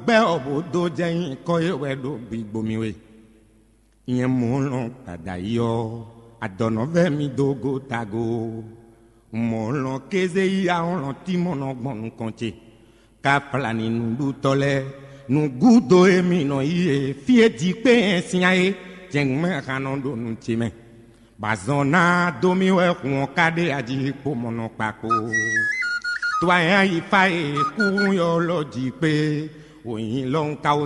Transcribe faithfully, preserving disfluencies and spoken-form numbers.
Gbɛ́ ɔ́ bó dó jɛ nyǐkɔ e wɛ ɖo gbigbo mì we. Nyɛ mɔ̌ lɔn gbada yi ɔ́, adɔ̌nɔvɛ́ mi dó go tago. Mɔ̌ lɔn kéze yi ahɔ́lɔn tímɔnɔ gbɔn nukɔn ce. Ka flani nǔɖutɔ́ lɛ́ɛ, nǔgúdo e mi nɔ yi e fí e jí kpé nyɛ syán é, jɛ̌ngbɛ́n hannɔ ɖo nu ce mɛ. Bɔ azɔn ná dó mì wɛ hun ɔ́ ka ɖe aji kpo mɔnɔ kpakpo. To anyá yi fá e kú ylɔ́ jí kpé, wǒ nyi lɔhun ka wó